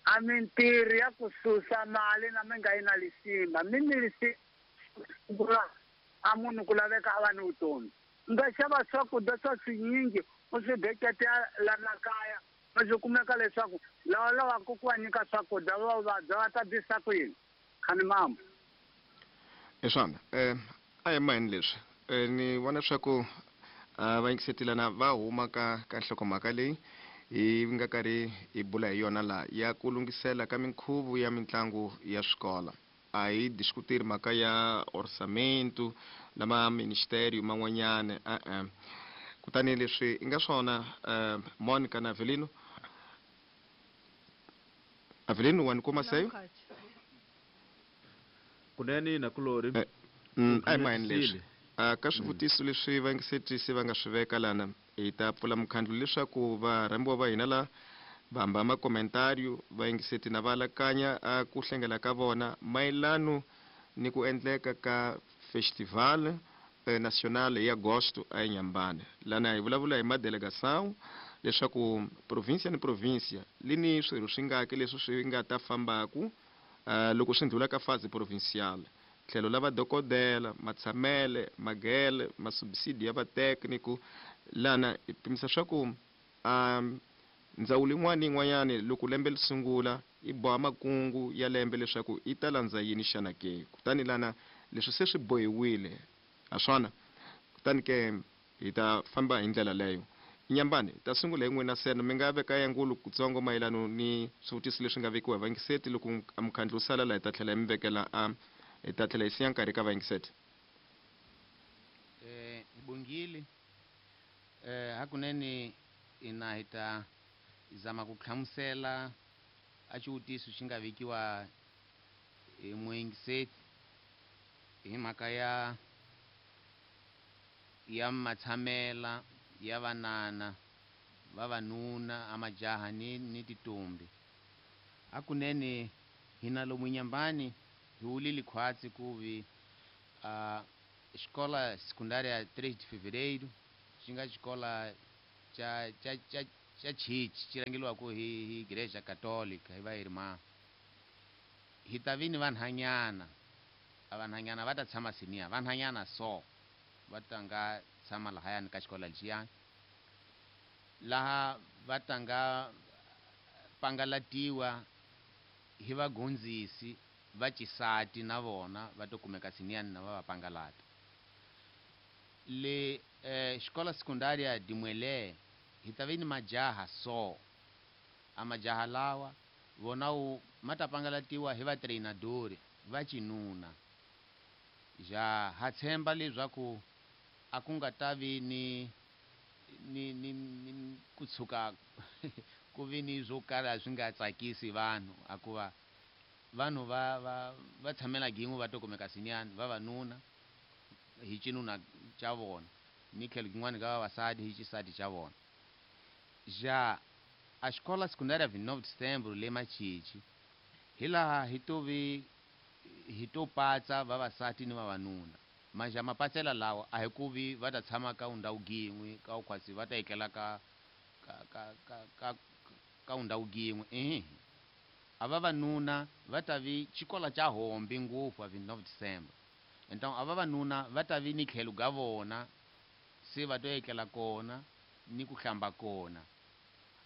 a mintirho ya ku susa mali na mi nga yi na lisima mi ni lisima a munhu ku laveka a va ni vutomi. U nga xava swakudya swa swinyingi u swi beketela lana kaya, ma swi kumeka leswaku lava lavaka ku va nyika swakudya va vabya va ta bisa ku yini khani mama. Hi swona, a hi maheni leswi ni vona swa ku va yingisetelana va huma ka nhlokomhaka leyi hi nga karhi hi bula hi yona laha ya ku lunghisela ka minkhuvo ya mitlangu ya swikola. A hi diskuteri mhaka ya orçamento na ma ministério man'wanyana e-e. Kutani leswi i nga swona, Monica na Avelino, Avelino wa ni kuma seyo? Kunene nakulori. A hi maheni leswi ka swivutiso leswi vayingisetisi va nga swi veka lana, hi ta pfula mukhandlu leswaku varhambiwa va hina la va hamba makomentario vayingiseti na va alakanya a ku hlengela ka vona mayelano ni ku endleka ka festival national hi agosto a eNyambane. Lana hi vulavula hi madelegação leswaku província ni província li ni swirho swi ngaki leswi swi nga ta fambaku loko swi ndlhula ka fase provincial, tlhelo la vadokodela, matshamele, magele, masubsidi ya vatécnico. Lana hi pimisa swa ku ndzawulo yin'wana ni yin'wanyana loko lembe li sungula yi boha makungu ya lembe leswaku yi ta landza yini xana ke. Kutani lana leswi se swi bohiwile ha swona, kutani ke hi ta famba hi ndlela leyo. Nyambani, hi ta sungula hi n'wina seno, mi nga veka ya ngulu kutsongo mayelano ni swivutiso leswi nga vekiwa hi vayingiseti. Loko mukhandlu wu sala laha, hi ta tlhela hi mi vekela a hi ta tlhela hi siya nkarhi ka vayingiseti. Hi bongile hakunene ina hi ta zama ku hlamusela a xivutiso xi nga vekiwa hi muyingiseti hi mhaka ya matshamela ya vanana, vavanuna, a majaha ni tintombi. Hakunene Hina lomu Inhambane hi wulile khwatsi ku vi xikola secundária 3 de Fevereiro xi nga xikola xa xa xa xa chichi xi rhangeliwaka hi Igreja Católica hi va irmã. Hi ta vi ni vanhanyana, a vanhanyana va ta tshama siniya, vanhanyana so va ta nga tshama lahayani ka xikola lexiyani, laha va ta nga pangalatiwa hi vagondzisi va xisati na vona va to kumeka siniyani na va va pangalata. Le xikola secundária de Muelé hi ta vi ni majaha so, a majaha lawa vona wu ma ta pangalatiwa hi va treinadori va xinuna. Ja ha tshemba leswaku a ku nga ta vi ni ni ni, ni ku tshuka ku vi ni swo kala swi nga tsakisi vanhu, hikuva vanhu va va va tshamela gin'we va to kumeka siniyani vavanuna hi xinuna xa vona ni tlhelo gin'wana ka vavasati hi xisati xa vona. Ja a xikola secundária 29 de Setembro le Machichi hi laha hi to vi hi to patsa vavasati ni vavanuna. Manje mapatsela lawa a hi ku vi va ta tshama ka ndhawu gin'we ka khwatsi va ta etlela ka ka ka ka ka ka ndhawu gin'we. Ehe, a vavanuna va ta vi xikola xa hombi ngopfu a 29 de Setembro. Então a vavanuna va ta vi ni tlhelo ga vona se va to etlela kona ni ku hlamba kona.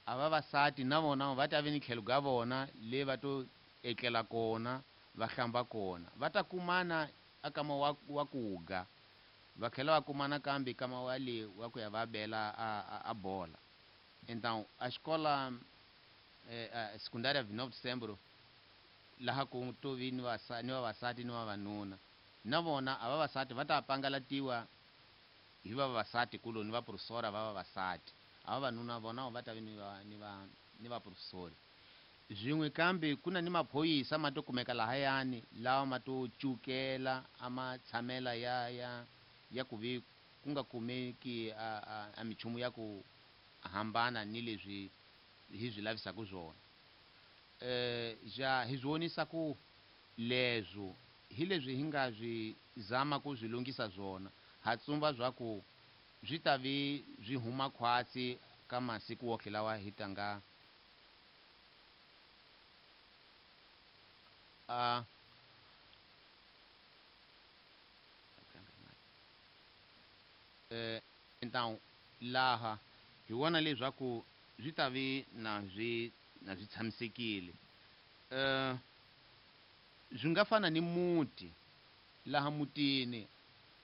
A vavasati na vona va ta vi ni tlhelo ga vona le va to etlela kona va hlamba kona. Va ta kumana a kama wa kuga, va tlhela va kumana kambe kama wa le wa ku ya va bela a bola. Então a xikola secundária 29 de Setembro laha ku to vi ni ni vavasati ni vavanuna na vona a vavasati va ta pangalatiwa hi vavasati kuloni va professora va vavasati, a vavanuna vona va ta vi ni va ni va ni va professori. Swin'we kambe ku na ni maphorisa ma to kumeka lahayani lawa ma to cukela a ma tshamela ya ya ya ku vi ku nga kumeki a minchumu ya ku hambana ni leswi hi swi lavisaka swona. Ja hi swi vonisa ku leswo hi leswi hi nga swi zama ku swi lunghisa swona, ha tsumba swa ku swi ta vi swi huma khwatsi ka masiku wohle lawa hi ta nga então laha hi vona leswaku swi ta vi na swi na swi tshamisekile. Swi nga fana ni muti, laha mutini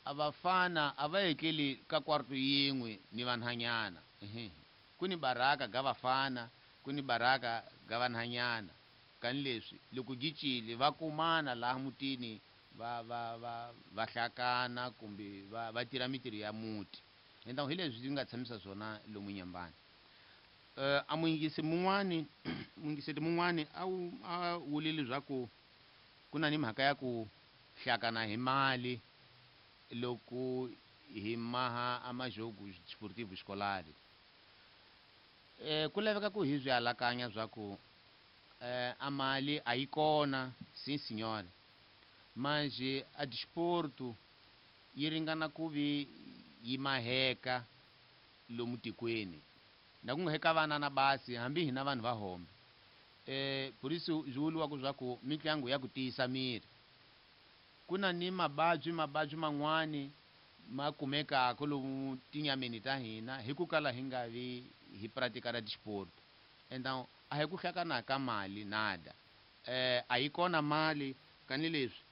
a vafana a va etleli ka kwarto yin'we ni vanhanyana. Ehe, ku ni baraka ga vafana, ku ni baraka ga vanhanyana. Kani leswi loko gi cile va kumana laha mutini va va va va hlakana kumbe va va tirha mintirho ya muti. Então hi leswi nga tshamisa swona lomu Inhambane. A muyingisi mun'wani muyingiseti mun'wani a wu a wule leswaku ku na ni mhaka ya ku hlakana hi mali loko hi maha a majogo desportivo escolar. Ku laveka ku hi swi alakanya swa ku a mali a yi kona, sim senhora, manje a desporto yi ringana ku vi yi maheka lomu tikweni, na ku nga heka vana na basi hambi hina vanhu va hombe. Por isso swi vuriwaka swa ku mitlangu ya ku tiyisa miri. Ku na ni mavabyi mavabyi man'wani ma kumekaka lomu tinyameni ta hina hi ku kala hi nga vi hi pratica desporto. Então a hi ku hlakana ka mali nada, a yi kona mali kani leswi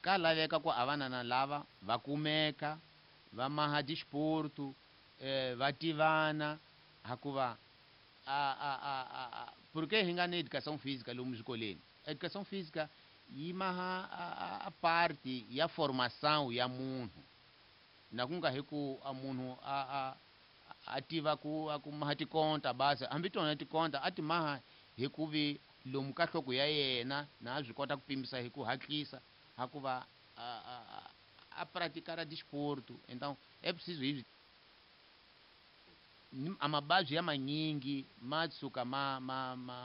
ka laveka ku a vanana lava va kumeka va maha desporto, va tivana, hakuva a a a a porque hi nga ni educação física lomu swikolweni. Educação física yi maha a parte ya formação ya munhu, na ku nga hi ku a munhu a a a tiva ku a ku maha tikonta basi, hambi tona tikonta a ti maha hi ku vi lomu ka nhloko ya yena na a swi kota ku pimisa hi ku hatlisa, hakuva a praticar desporto. Então é preciso hi a mavabyi ya manyingi ma tshuka ma ma ma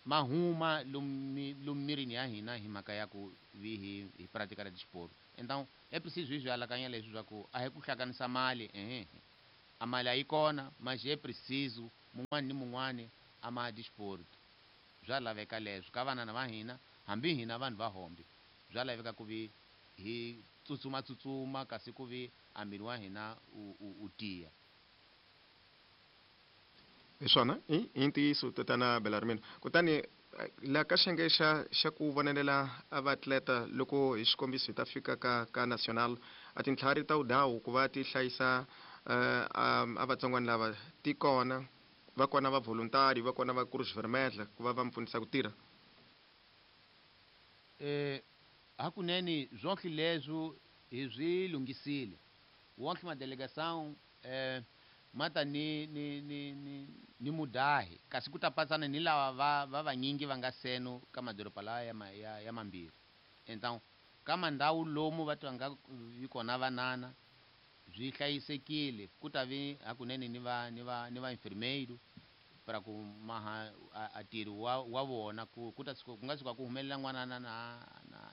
Ma huma lomu mirini ya hina hi mhaka ya ku vi hi pratica desporto. Então é preciso isso alakanya leswi swa ku a hi ku hlanganisa mali, ehe, a mali a yi kona, mas é preciso mun'wani ni mun'wani a ma desporto. Bya laveka leswo ka vanana va hina, hambi hina vanhu va hombe, bya laveka ku vi hi tsutsuma tsutsuma kasi ku vi a miri wa hina u tiya. Hi swona, i ntiyiso tatana Belarmino. Kutani la ka xiyenge xa ku vonelela a vaatleta, loko hi xikombiso hi ta fika ka national, a tintlhari ta udawu ku va ti hlayisa a vatsongwana lava ti kona, va kona va voluntary, va kona va Cruz Vermelha ku va va mi pfunisa ku tirha? Hakunene zwonke leswo hi swi lunghisile. Wonke madelegação mata ni mudahi, kasi ku ta patsana ni lava va vanyingi va nga seno ka madoroba lawa ya mambirhi. Então ka mandhawu lomu va twanga vi kona vanana byi hlayisekile, ku ta vi hakunene ni va enfermeiro para ku maha a ntirho wa vona, ku ta tshuka, ku nga tshuka ku humelela n'wana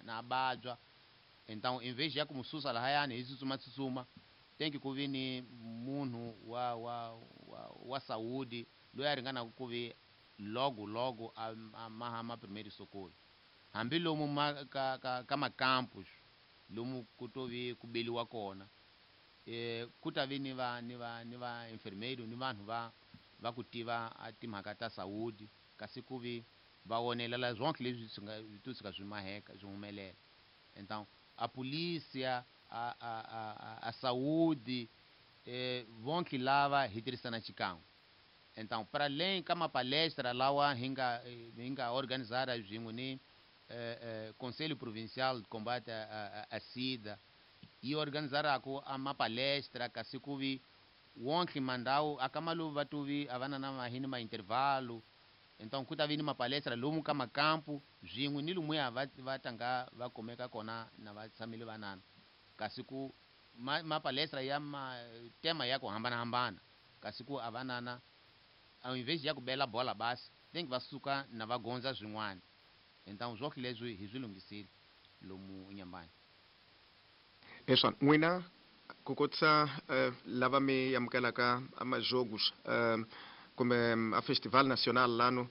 na vabya. Então em vez ya ku mu susa lahayani hi tsutsuma tsutsuma, tem que ku vi ni munhu wa saúde loyi a ringanaka ku vi logo logo a maha ma primeiro socorro, hambi lomu ma ka macampus lomu ku to vi ku beliwa kona, ku ta vi ni va enfermeiro ni vanhu va ku tiva a timhaka ta saúde, kasi ku vi va wonelela zonke leswi swi nga to tshuka swi maheka swi humelela. Então a polícia, a saúde, vonke lava hi tirhisana xikan'we. Então para além ka mapalestra lawa hi nga organizara swin'we ni Conselho Provincial de Combate a SIDA, yi organizaraku a mapalestra, kasi ku vi wonke mandhawu akamalu va tuvi a va na mahini ma intervalo. Então ku ta vi ni mapalestra lomu ka makampu swin'we ni lumuya va tanga va kumeka kona na va tshamile vanana, kasi ku mapalestra ya ma tema ya ku hambanahambana, kasi ku a vanana ao invés ya ku bela bola basi tem que va suka na va gondza swin'wana. Então zwonke leswi hi swi lunghisile lomu Nyambani. Hi swona, n'wina ku kotisa lava mi amukelaka amajogos kumbe a festival nacional lano,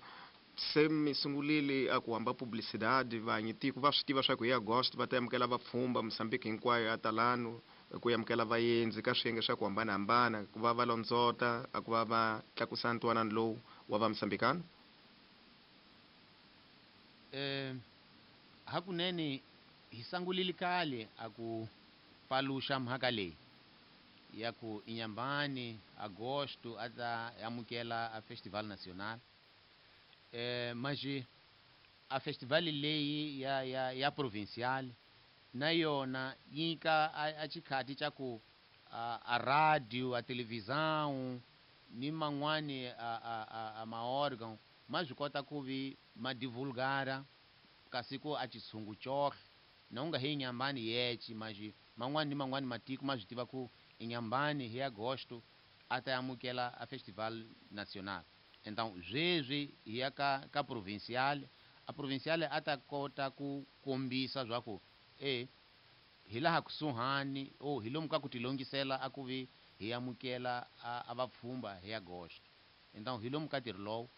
se mi sungulile a ku hamba publicidade, vanyi tiko va swi tiva swa ku hi Agosto va ta amukela vapfhumba, Mozambique hinkwayo ya talano ku amukela vaendzi ka swiyenge swa ku hambanahambana, ku va va londzota a ku va va tlakusa ntwanano lowu wa va Mozambikano? Hakunene hi sangulile kale a ku paluxa mhaka leyi ya ku Inyambani agosto a ta amukela a festival nacional, mas a festival leyi ya provincial na yona yi nyika a xikhati xa ku a radio, a televisão ni man'wani a maórgão ma swi kota ku vi ma divulgara, kasi ku a xitshungu cohle na u nga hi Inyambani yece, mas man'wani ni man'wani matiko ma swi tiva ku Inyambani hi agosto a ta amukela a festival nacional. Então sweswi hi ya ka provincial, a provincial a ta kota ku kombisa swa ku hi laha kusuhani o hi lomu ka ku tilongisela a ku vi hi amukela a vapfhumba hi agosto. Então hi lomu ka ntirho lowu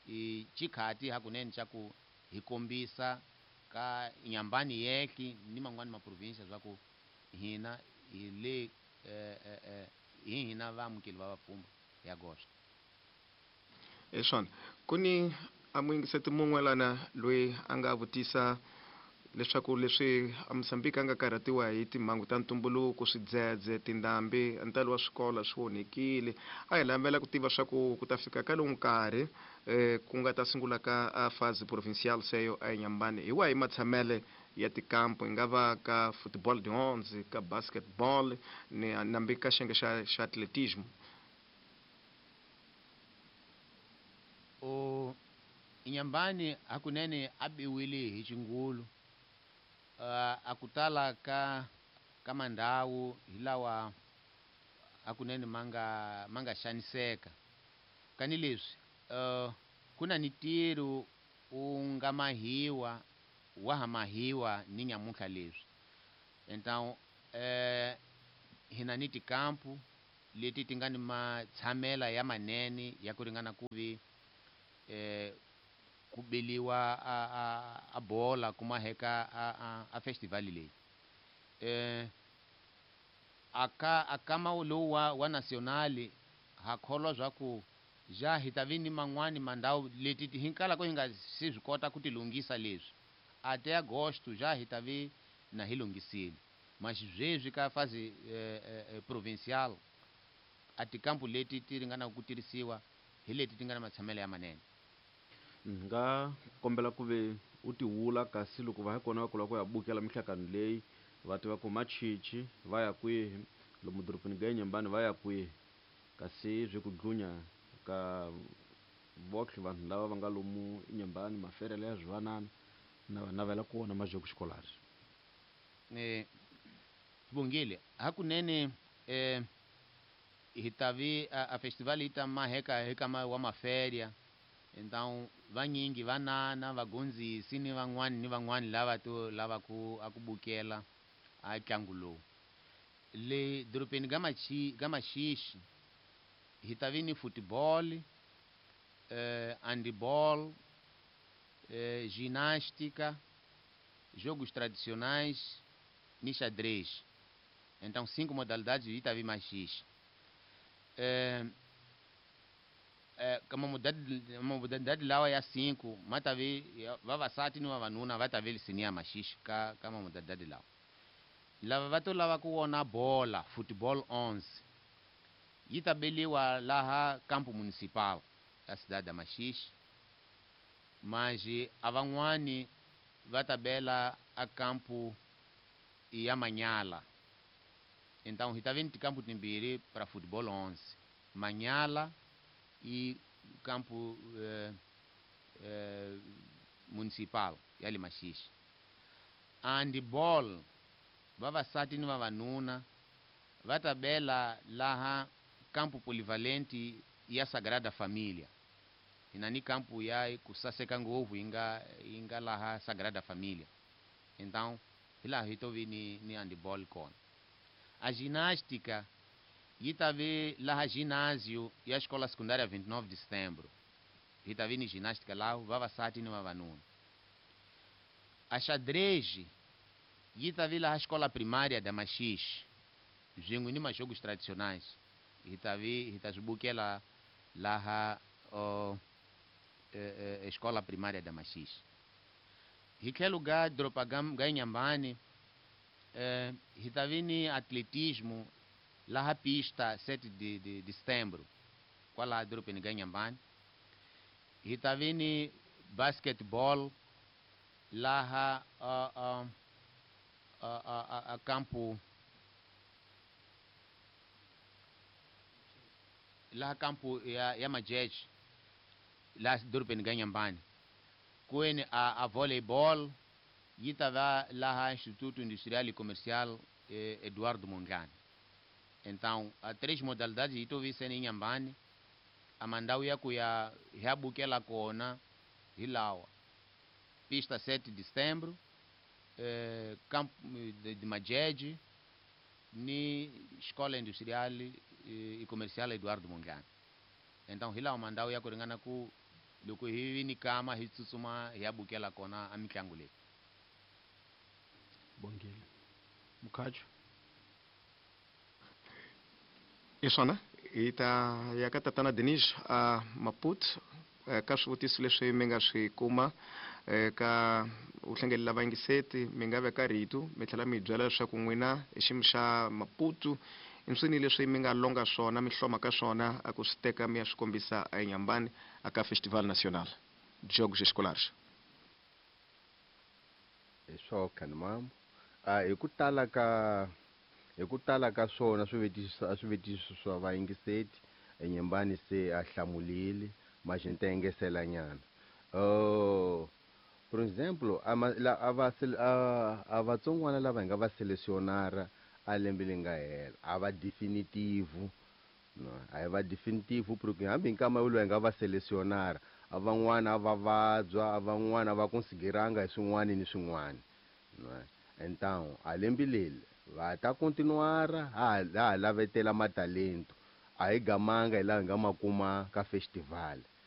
i xikhati hakunene xa ku hi kombisa ka Nyambani yekhi ni man'wani maprovinsia swa ku hina hi le hi hina vaamukeli va vapfhumba hi agosto. Hi swona, ku ni a muyingiseti mun'we lana loyi a nga vutisa leswaku leswi a Mozambique a nga karhatiwa hi timhangu ta ntumbuluko, swidzedze, tindhambi, ntalo wa swikolo swi onhekile, a hi lavela ku tiva swa ku ku ta fika ka lowu nkarhi ku nga ta sungula ka a fase provincial seyo a Inyambani, hi wahi matshamele ya tikampo, hi nga va ka football de onze, ka basketball ni nambi ka xiyenge xa atletismo? O Inyambani hakunene a biwile hi xingulu, a ku tala ka mandhawu hi lawa hakunene ma nga xaniseka. Kani leswi ku na ni ntirho U nga mahiwa wa ha mahiwa ni nyamuntlha leswi. Então hina ni tikampu leti ti nga ni matshamela ya manene ya ku ringana ku vi ku beliwa a bola ku maheka a festival leyi. Aka lowu wa national ha kholwa swa ku ja hi ta vi ni man'wani mandhawu leti hinkala ko hi nga se swi kota ku ti lunghisa leswi a te agosto ja hi ta vi na hi lunghisile. Mas sweswi ka fase provincial a tikampu leti ti ringanaka ku tirhisiwa hi leti ti nga na matshamelo ya manene. Nga kombela ku ve u ti wula kasi loko va ha kona va kula ku ya bukela minhlangano leyi va tiva ku machichi va ya kwihi, lomu dorobeni ga Inhambane va ya kwihi, kasi swi ku dlunya ka votlhe vanhu lava va nga lomu Inhambane maferele ya swivanana na va navela ku vona majoko xikolari. Sibongile hakunene hi ta vi a festival yi ta maheka eka wa maferia. Então vanyingi vanana vagondzisi ni van'wani ni van'wani lava to lava ku a ku bukela a ntlangu lowu. Le dorobeni ga Maxixe hi ta vi ni football, handball, ginástica, jogos tradicionais ni xadrez. Então 5 modalidades hi ta vi Maxixe. Kama modalidade lawa ya 5 matavi vavasati ni vavanuna va ta vi lisini Maxixe ka modalidade lawa. Lava va to lava ku vona bola football 11 yi ta beliwa laha campo municipal ya cidade ya Maxixe. Mas a van'wani va ta bela a campo ya Manyala. Então hi ta vi ni tikampu timbirhi para football 11, Manyala e campo municipal ya le Maxixe. Handball vavasati ni vavanuna va ta bela laha campo polivalente ya Sagrada Família. Hina ni campo ya ku saseka ngopfu yi nga laha Sagrada Família. Então hi laha hi to vi ni handball kona. A ginástica yi ta vi laha ginásio ya escola secundária 29 de setembro. Hi ta vi ni ginástica lá vavasati ni vavanuna. A xadrez yi ta vi laha escola primária da Maxixe, swin'we ni majogos tradicionais. Hi ta vi hi ta swi bukela laha escola primária da Maxixe. Hi tlhelo ga doroba ga Inhambane hi ta vi ni atletismo laha pista 7 de setembro, kwalaha dorobeni ga Inhambane. Hi ta vi ni basketball laha a campo laha campo ya Majeje laha dorobeni ga Inhambane. Kweni a volleyball yi ta va laha Instituto Industrial e Comercial Eduardo Mondlane. Então a 3 modalidades yi to vi sene Inhambane. A mandhawu ya ku ya hi ya bukela kona hi lawa: pista 7 de setembro, campo de Majeje ni Escola Industrial e Comercial Eduardo Mondlane. Então hi lawa mandhawu ya ku ringana ku loko hi vi ni kama hi tsutsuma hi ya bukela kona a mitlangu leyi. Bongile Mukhacho. I swona hi ta ya ka tatana Denis a Maputo ka swivutiso leswi mi nga swi kuma ka u hlengelela vayingiseti mi nga veka rito mi tlhela mi hi byela leswaku n'wina hi xiyimo xa Maputo i swini leswi mi nga longa swona mi hloma ka swona a ku swi teka mi ya swi kombisa eNyambani a ka Festival Nacional Jogos Escolares. Hi swo Khanimam, hi ku tala ka swona swivutiso swa vayingiseti eNyambani se a hlamulile mas ni ta engesela nyana. Por exemplo, a vatsongwana lava hi nga va selecionara a lembe leri nga hela a va definitivo. No, a hi va definitivo porque hambi hi nkama wolowo hi nga va selecionara A van'wana a va vabya, a van'wana a va konsigeranga hi swin'wana ni swin'wana. Então a lembe leri va ta continuar ha ha lavetela matalento. A hi gamanga hi laha hi nga ma kuma ka festival.